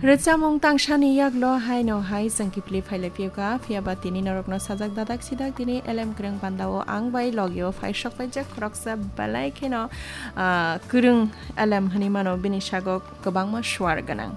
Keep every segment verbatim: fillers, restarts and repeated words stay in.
Rwchapmung tangsani yaklo haino hai chwng kiphilwi phailai phiyokha, phiyaba tini norokno sajak dadak sidak tini L M Kwrwng bandao ang bai logio phai sokpaijak khoroksa belai kheno, ah, kwrwng L M hwnwi mano, bini sago kwbangma suar gwnang.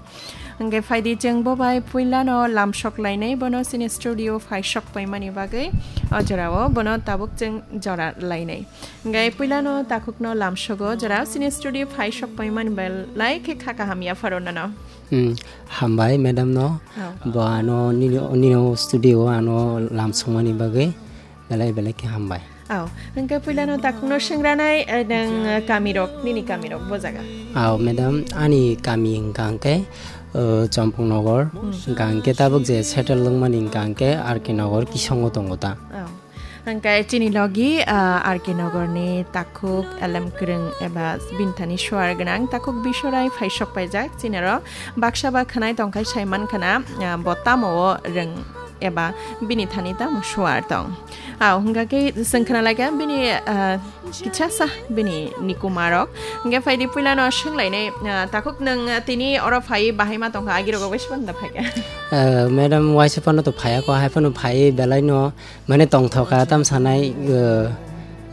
Hwnkhe phaidi chwng bo bai puilano lamsok lainai, bono chini studio phai sokpaimani bagwi o jorao bono tabuk chwng jora lainai. Hwnkhe puilano takhukno lamsogo, jora chini studio phai sokpaimani belai khe kha kaham yapharo nono. Hmm, hambai madam no. Oh. Bo ano nini, nini studio ano lamsokmani bagwi belai belai khe hambai. Oh, hwnkhe puilano takhukno swngranai, eh, nwng, eh, kamirok, nini kamirok bo jaga? Oh, madam, ani kami hwnkha hwnkhe, eh, Chompong Nogor, Hmm. hwnkha hwnkhe tabuk je settle wngmani hwnkha hwnkhe R K Nogor kisongo tongo ta. Oh. Hwnkhe chini logi, ah, R K Nogorni takhuk L M Kwrwng eba bini thani suar gwnang takhuk Bisorai phai sokpaijak, chini oro baksa ba khwnai tongkhai sai mankhana, ah, bo tamo o rwng eba bini thani tamo suar tong. Ah, hwnkha khe chwng khna laikha bini, ah, kichasa bini nikumarok. Hwnkhe phaidi puilano swnglainai, ah, takhuk nwng, ah, tini oro phai bahai ma tongkha, agirogo bai sibanda phaikha? Eh, madam, waisa phano to phaiya ko, hai phano phai belai no. Mane tongthoka tam sanai, eh,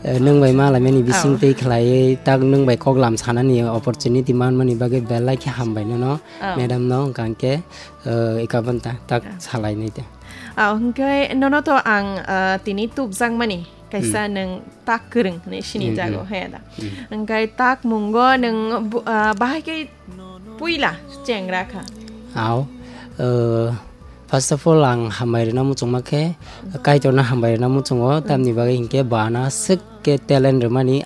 eh, nwng bai malaimani bising Oh. tei khlaiwi tak nwng bai koklam sanani opportunity manmani bagwi belai khe hambai nono, Oh. madam no hwnkha hwnkhe, eh, eka banta tak Oh. salainai de. Oh, hwnkhe nono to ang, eh, tini tubjakmani kaisa Hmm. nwng tak kwrwng hinwi sini Hmm, jago, hmm. He da. Hmm. Hwnkhe tak mungo nwng bu-, eh, bahai khe puila chengra kha. Ao, eh, first of all, ang hambai rwna muchungma khe, Kaitorno hambai rwna muchungo, tamni bagwi hinkhe bana swk khe talent rwmani